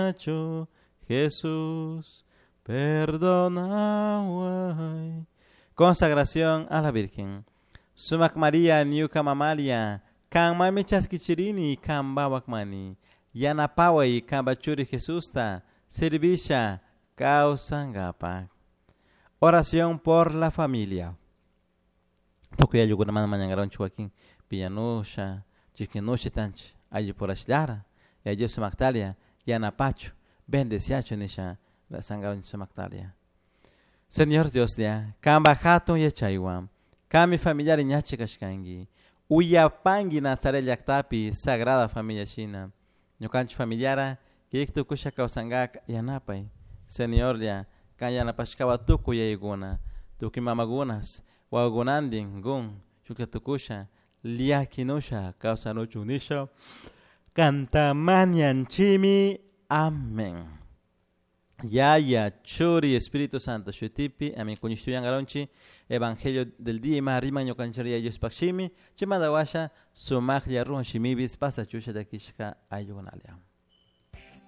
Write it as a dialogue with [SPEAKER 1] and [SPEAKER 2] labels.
[SPEAKER 1] Nachu Jesús perdonaway. Consagración a la Virgen. Sumac María ñuka mamalia, kanmami chaskichirini kanpawakmani. Yanapaway kanpa churi Jesusta servisha kawsankapak. Oración por la familia. Tukuy ayllukunamanta mañankaranchik wakin piñanusha, chikinusha tanchik ayllupurashillara, Yaya Dios sumaktalia yanapachu, bendeciachu nisha rezankaranchik sumaktalia. Señor Dioslla, kanpak hatun yachaywan, kanmi familiari ñachi kashkanki, uyapanki Nazaret llaktapi Sagrada Familia shina, ñukanchik familiara kik tukusha kawsankak yanapay. Señorlla, kan yanapashkawa tukuy yayakuna, tukuy mamakunas, wawakunantin kun shuklla tukusha, llakinusha kawsanuchun nisha, kanta mañanchimi. Amén. Yaya, Churi, Espíritu Santo, shutipi, amén. Kuñishtuyankaronchi, Evangelio del día, ima riman ñukanchik Yaya Diospaj shimi, chaymanta washa sumaqlla ruwan shimipis pasachusha takishka ayllukunalia.